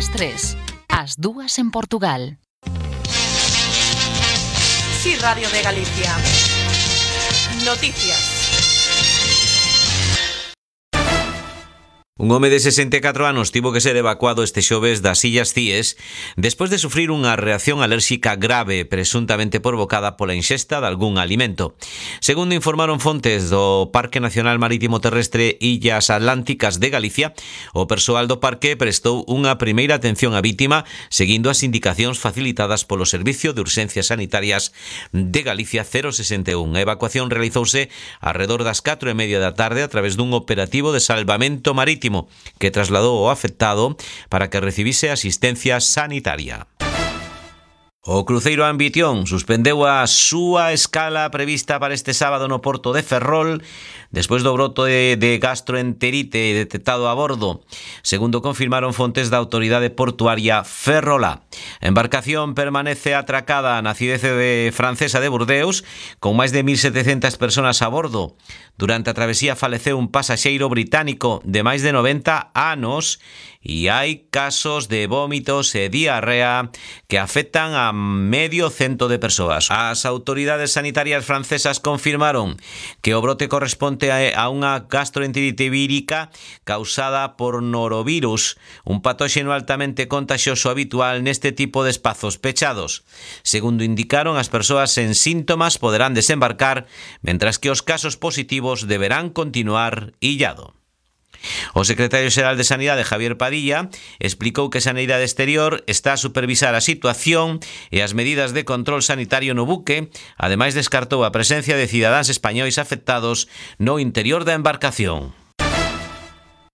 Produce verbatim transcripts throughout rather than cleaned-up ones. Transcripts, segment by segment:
ás tres, ás dúas en Portugal. Sí, Radio de Galicia. Noticias. Un home de sesenta e catro anos tivo que ser evacuado este xoves das Illas Cíes despois de sufrir unha reacción alérxica grave presuntamente provocada pola ingesta de algún alimento. Segundo informaron fontes do Parque Nacional Marítimo Terrestre Illas Atlánticas de Galicia, o persoal do parque prestou unha primeira atención á vítima seguindo as indicacións facilitadas polo Servicio de Urxencias Sanitarias de Galicia cero sesenta e un. A evacuación realizouse arredor das catro e media da tarde a través dun operativo de salvamento marítimo que trasladou o afectado para que recibise asistencia sanitaria. O cruceiro Ambición suspendeu a súa escala prevista para este sábado no porto de Ferrol despois do broto de, de gastroenterite detectado a bordo, segundo confirmaron fontes da autoridade portuaria ferrolá. A embarcación permanece atracada na cidade de francesa de Burdeos con máis de mil setecentas persoas a bordo. Durante a travesía faleceu un pasaxeiro británico de máis de noventa anos e hai casos de vómitos e diarrea que afectan a medio cento de persoas. As autoridades sanitarias francesas confirmaron que o brote corresponde a unha gastroenterite vírica causada por norovirus, un patóxeno altamente contagioso habitual neste tipo de espazos pechados. Segundo indicaron, as persoas sen síntomas poderán desembarcar, mentras que os casos positivos deberán continuar illado. O secretario xeral de Sanidade, Javier Padilla, explicou que Sanidade Exterior está a supervisar a situación e as medidas de control sanitario no buque. Ademais, descartou a presencia de cidadáns españois afectados no interior da embarcación.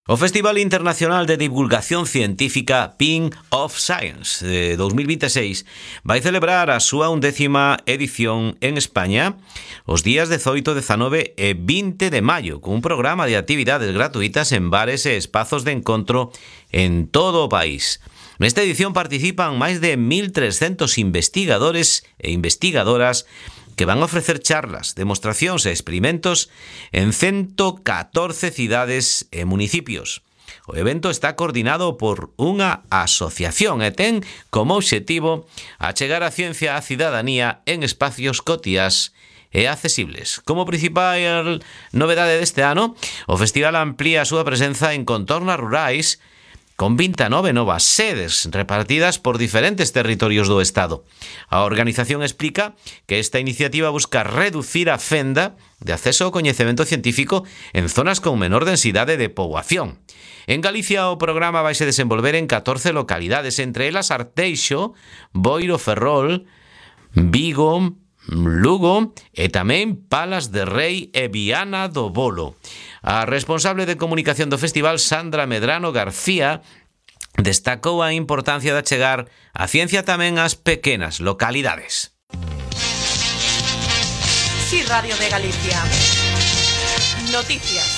O Festival Internacional de Divulgación Científica Pink of Science de dos mil veintiséis vai celebrar a súa undécima edición en España os días dezoito, dezanove e vinte de maio, con un programa de actividades gratuitas en bares e espazos de encontro en todo o país. Nesta edición participan máis de mil trescentos investigadores e investigadoras que van a ofrecer charlas, demostracións e experimentos en ciento catorce cidades e municipios. O evento está coordinado por unha asociación e ten como obxectivo achegar a ciencia á cidadanía en espacios cotiás e accesibles. Como principal novedade deste ano, o festival amplía a súa presenza en contornas rurais con vinte e nove novas sedes repartidas por diferentes territorios do Estado. A organización explica que esta iniciativa busca reducir a fenda de acceso ao coñecemento científico en zonas con menor densidade de poboación. En Galicia o programa vaise desenvolver en catorce localidades, entre elas Arteixo, Boiro, Ferrol, Vigo, Lugo e tamén Palas de Rei e Viana do Bolo. A responsable de comunicación do festival, Sandra Medrano García, destacou a importancia de achegar a ciencia tamén ás pequenas localidades. Sí, Radio de Galicia. Noticias.